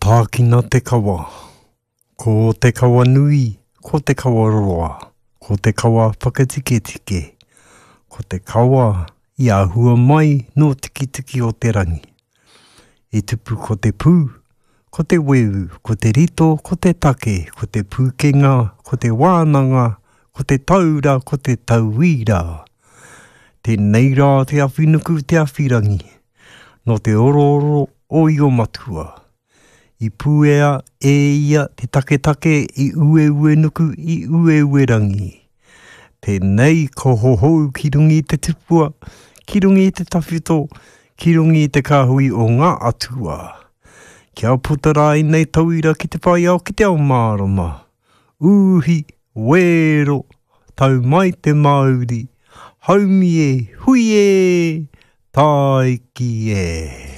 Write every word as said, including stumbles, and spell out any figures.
Tākina te kawa. Ko te kawa nui, ko te kawa roa, ko te kawa whakatiketike, ko te kawa i āhua mai nō Tikitiki o te rangi. I tupu ko te pū, ko te weu, ko te rito, ko te take, ko te pūkenga, ko te wānanga, ko te taura, ko te tauira. Tēnei rā te awhinuku te awhirangi, nō te orooro o Io Matua. I puea e ia te taketake i Ueuenuku i Ueuerangi. Tēnei ka hohou ki runga i te tupua, ki runga i te tawhito, ki runga i te kāhui o ngā atua. Kia puta rā ēnei tauira ki te whai ao ki te ao mārama. Uhi, wero, tau mai te mauri, haumi e, hui e, tāiki e.